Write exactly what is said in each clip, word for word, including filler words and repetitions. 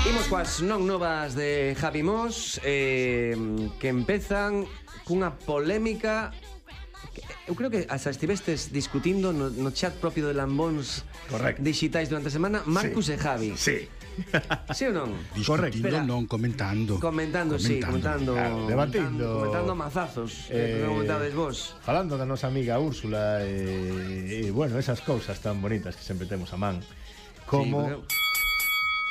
Imos coas non novas de Javi Mos, eh, que empezan cunha polémica que eu creo que hasta estivestes discutindo no, no chat propio de Lambóns Correcto. Digitais durante a semana, Marcus Sí. e Javi. Sí. Sí ou non? Discutindo, Espera. non, comentando. Comentando, sí, comentando, Claro, debatindo. comentando mazazos, eh, que comentades vos. Falando da nosa amiga Úrsula e, e bueno, esas cousas tan bonitas que sempre temos a man. Como Sí, pero...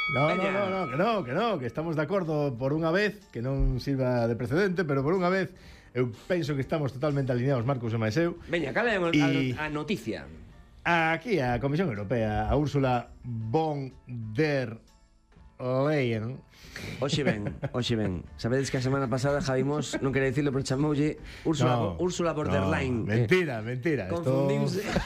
No, no, Veña. no, no, que no, que no, que estamos de acordo por unha vez, que non sirva de precedente, pero por unha vez eu penso que estamos totalmente alineados, Marcos e máis eu. Veña, cal é a, Y- a, a noticia? Aquí a Comisión Europea, a Úrsula von der Leyen. Oxe ben, oxe ben. Sabedes que a semana pasada Javi Mos, non quería dicirlo, pero chamoulle Úrsula, No, Úrsula Borderline. no, que mentira, mentira. Confundiuse. Esto...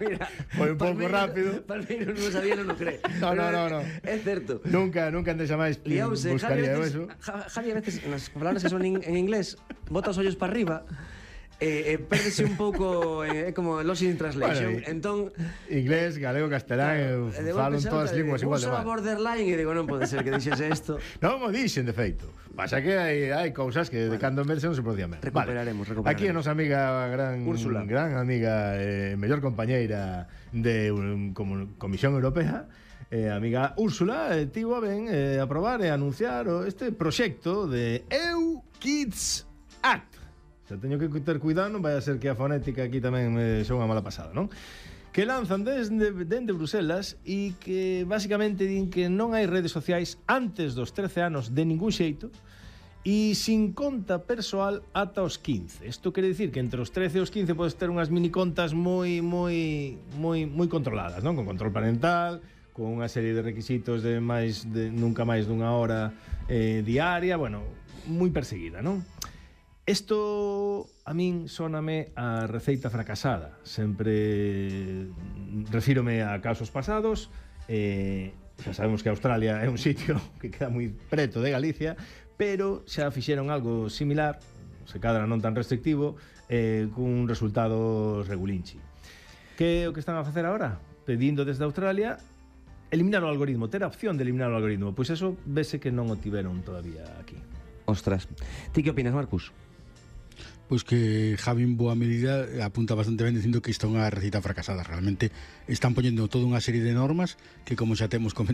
Mira, Foi un pouco Palmeiro- rápido. Palmeiro non sabía, non o cree. No, no, Pero no, no. É certo. Nunca, nunca antes máis Liause, Javi a buscaría eu veces, eso. Ja- Javi a veces, nas palabras que son en, en inglés, bota os ollos para arriba, e eh, eh, pérdese un pouco, é eh, como Lost in Translation. Bueno, y- entón, Inglés, galego, castelán, eu e de falo golpe todas as salta, linguas igual de Úrsula mal. Borderline, e digo, non pode ser que dixese isto. Non mo dixen, de feito. Pasa que hai, hai cousas que de cando en vez non se podían ver. Recuperaremos, recuperaremos. Aquí a nosa amiga gran Úrsula. gran amiga, eh, mellor compañeira de um, como, Comisión Europea, eh, amiga Úrsula, eh, tivo a ben eh, aprobar e anunciar o, este proxecto de E U Kids Act. Se teño que ter cuidado, non vai a ser que a fonética aquí tamén me xa unha mala pasada, non? Que lanzan desde, dende Bruselas e que basicamente din que non hai redes sociais antes dos trece anos de ningún xeito e sin conta persoal ata os quince. Isto quere dicir que entre os trece e os quince podes ter unhas mini contas moi moi moi moi controladas, non? Con control parental, con unha serie de requisitos de máis de nunca máis dunha hora eh, diaria, bueno, moi perseguida, non? Isto a min sóname a receita fracasada. Sempre refírome a casos pasados. eh, Xa sabemos que Australia é un sitio que queda moi preto de Galicia, pero xa fixeron algo similar, se cadra non tan restrictivo, eh, cun resultado regulinchi. Que é o que están a facer agora? Pedindo desde Australia eliminar o algoritmo, ter a opción de eliminar o algoritmo. Pois eso vese que non o tiveron todavía aquí. Ostras. Ti que opinas, Marcus? Pois que Javi en boa medida apunta bastante ben dicindo que isto é unha receta fracasada. Realmente están poñendo toda unha serie de normas que, como xa temos comentado,